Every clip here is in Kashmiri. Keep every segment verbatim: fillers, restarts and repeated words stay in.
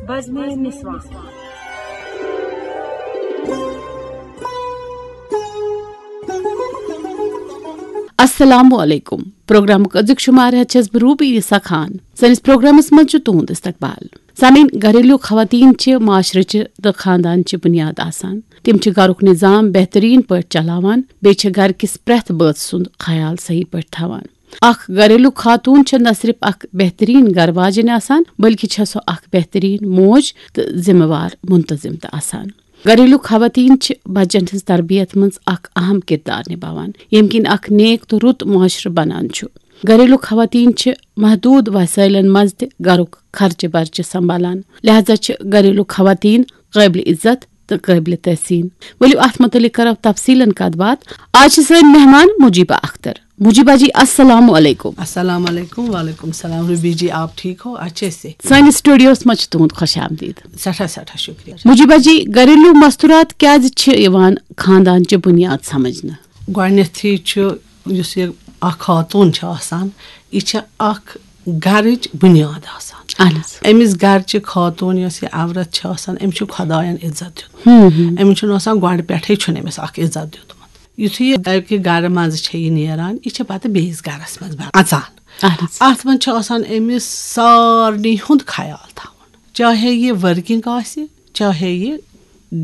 بزمِ نسواں۔ السلام علیکم۔ پروگرامُک أزیُک شمارٕ ہٮ۪تھ چھَس بہٕ روبی نسا خان۔ سٲنِس پروگرامس منٛز چھُ تُہُنٛد استقبال۔ سامعین، گھریلو خواتین چھِ معاشرٕچہِ تہٕ خاندانچہِ بُنیاد آسان۔ تِم چھِ گھرُک نظام بہتریٖن پٲٹھۍ چلاوان، بیٚیہِ چھِ گھرٕ کِس پرٛٮ۪تھ بٲژ سُنٛد خیال صحیح پٲٹھۍ تھاوان۔ اکھ گھریلو خاتون چھےٚ نہ صرف اکھ بہتریٖن گھر واجِنۍ آسان، بلکہِ چھےٚ سۄ اکھ بہتریٖن موج تہٕ ذمہٕ وار منتظم تہِ آسان۔ گھریلو خواتین چھِ بچن ہٕنٛز تربیت منٛز اکھ اہم کردار نباوان، ییٚمہِ کِنۍ اکھ نیک تہٕ رُت معاشرٕ بنان چھُ۔ گھریلو خواتین چھِ محدود وسائلن منٛز تہِ گھرُک خرچہٕ برچہٕ سنبھالان، لہذا چھِ گھریلو خواتین قٲبلِ عزت تہٕ قٲبلِ تحسین۔ ؤلِو، اتھ متعلق کرو تفصیلن کتھ باتھ۔ آز چھِ سٲنۍ مہمان مجیبہ اختر۔ مجیبہ جی، السلام علیکم۔ السلام علیکم۔ وعلیکم السلام۔ روبی جی، آپ ٹھیک ہو؟ اچھے سے۔ سٲنِس سٹوڈیوس منٛز چھُ تُہُنٛد خوش آمدید۔ سٮ۪ٹھاہ سٮ۪ٹھاہ شُکریہ۔ مجیبہ جی، گھریلو مستورات کیازِ چھِ یِوان خاندان چہِ بُنیاد سمجھنہٕ؟ گۄڈٕنیتھٕے چھُ، یُس یہِ اکھ خاتوٗن چھِ آسان، یہِ چھِ اکھ گرٕچ بُنیاد آسان۔ اہن حظ۔ أمِس گرچہِ خاتوٗن یۄس یہِ عورت چھِ آسان، أمِس چھُ خۄدایَن عزت دیُتمُت۔ أمِس چھُنہٕ آسان گۄڈٕ پٮ۪ٹھَے چھُنہٕ أمِس اکھ عزت دیُتمُت۔ یُتھُے یہِ اَکہِ گرٕ منٛزٕ چھےٚ یہِ نیران، یہِ چھےٚ پتہٕ بیٚیِس گرس منٛز اژان۔ اہن حظ۔ اتھ منٛز چھُ آسان أمِس سارنٕے ہُنٛد خیال تھاوُن، چاہے یہِ ورکنگ آسہِ، چاہے یہِ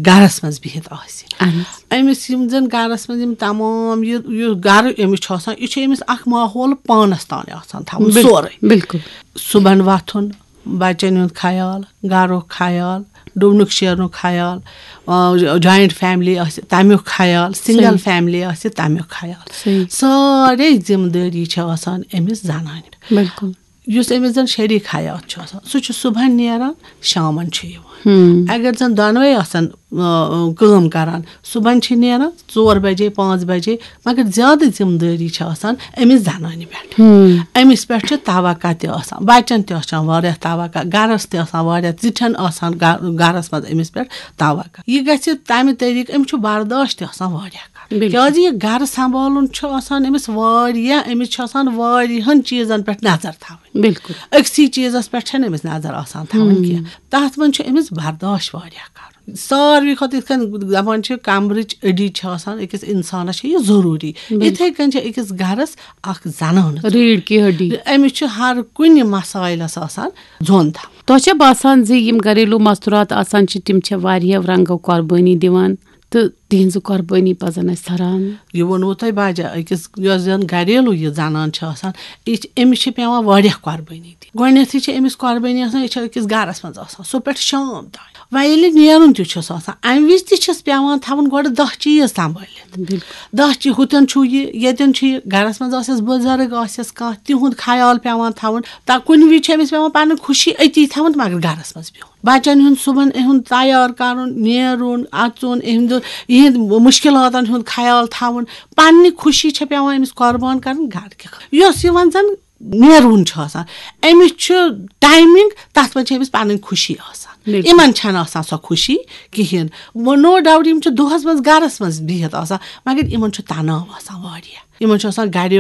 گرس منٛز بِہِتھ آسہِ۔ اہن حظ۔ أمِس یِم زن گرس منٛز یِم تمام یہِ یُس گرٕ أمِس چھُ آسان، یہِ چھُ أمِس اکھ ماحول پانس تام آسان تھاوُن بِل-، سورُے۔ بِلکُل۔ صُبحن وۄتھُن، بچن ہُنٛد خیال، گرُک خیال، ڈُونُک شیرنُک خیال، آ، جوینٹ فیملی آسہِ تمیُک خیال، سنگل صحیح۔ فیملی آسہِ تمیُک خیال۔ صحیح۔ سارے ذمہٕ دٲری چھِ آسان أمِس زنانہِ پٮ۪ٹھ۔ بِلکُل۔ یُس أمِس زن شریک حیات چھُ آسان، سُہ چھُ صُبحن نیران، شامن چھُ یِوان۔ اگر زن دۄنوے آسن، آ، کٲم کران، صُبحن چھِ نیران ژور بجے، پانٛژھ بجے، مگر زیادٕ ذمہٕ دٲری چھِ آسان أمِس زنانہِ پٮ۪ٹھ۔ أمِس پٮ۪ٹھ چھُ توقع تہِ آسان، بچن تہِ آسان واریاہ توقع، گرس تہِ آسان واریاہ، زِٹھٮ۪ن آسان گ-، گرس منٛز أمِس پٮ۪ٹھ توقع۔ یہِ گژھِ تمہِ طریٖقہٕ، أمِس چھُ برداشت تہِ آسان واریاہ کرُن۔ بِلکُل۔ کیازِ یہِ گرٕ سنبھالُن چھُ آسان أمِس واریاہ، أمِس چھُ آسان واریاہن چیٖزن پٮ۪ٹھ نظر تھاوٕنۍ۔ بِلکُل۔ أکسٕے چیٖزس پٮ۪ٹھ چھنہٕ أمِس نظر آسان تھاوٕنۍ کینٛہہ۔ تتھ منٛز چھُ أمِس برداشت واریاہ کرُن۔ ساروی کھۄتہٕ یِتھ کٔنۍ دپان چھِ، کمرٕچ أڈِج چھِ آسان أکِس انسانس، چھِ یہِ ضروٗری۔ یِتھے کٔنۍ چھِ أکِس گرس اکھ زنانہٕ ضروٗری۔ ریٖڑھ کی ہڈی۔ أمِس چھُ ہر کُنہِ مسایلس آسان زوٚن تھاوُن۔ تۄہہِ چھا باسان زِ یِم گھریلو مستورات آسان چھِ، تِم چھِ واریاہ رنگو قۄربٲنی دِوان تہٕ تِہنٛزٕ قۄربٲنی پزن اسہِ سراہنہِ؟ یہِ ووٚنوُ تۄہہِ باجا، أکِس یۄس زن گھریلو یہِ زنان چھِ آسان، یہِ چھِ، أمِس چھِ پٮ۪وان واریاہ قۄربٲنی دِنۍ۔ گۄڈٕنیتھٕے چھِ أمِس قۄربٲنی آسان، یہِ چھِ أکِس گرس منٛز آسان، صُبح پٮ۪ٹھ شام تام۔ وۄنۍ ییٚلہِ نیرُن تہِ چھُس آسان، امہِ وِزِ تہِ چھِس پٮ۪وان تھاوُن گۄڈٕ دہ چیٖز سنبھٲلِتھ۔ دہ چیٖز، ہُتٮ۪ن چھُ یہِ، ییٚتٮ۪ن چھُ یہِ، گرس منٛز آسٮ۪س بُزرگ، آسٮ۪س کانٛہہ، تِہُنٛد خیال پٮ۪وان تھاوُن۔ تا کُنہِ وِزِ چھِ أمِس پٮ۪وان پنٕنۍ خوشی أتی تھاوُن، مگر گرس منٛز بِہُن۔ بچن ہُنٛد صُبحن اِہُنٛد تیار کرُن، نیرُن، اژُن، اِہُنٛد، اِہِنٛد مُشکِلاتن ہُنٛد خیال تھاوُن۔ پننہِ خوشی چھےٚ پٮ۪وان أمِس قۄربان کرٕنۍ گرٕ کہِ خٲطرٕ۔ یۄس یہِ وۄنۍ زن نیرُن چھُ آسان، أمِس چھُ ٹایمِنگ، تتھ منٛز چھِ أمِس پنٕنۍ خوشی آسان۔ بِلکُل۔ یِمن چھنہٕ آسان سۄ خوشی کِہیٖنۍ۔ نو ڈاوٹ، یِم چھِ دۄہس منٛز گرس منٛز بِہِتھ آسان، مگر یِمن چھُ تناو آسان واریاہ۔ یِمن چھُ آسان گرِ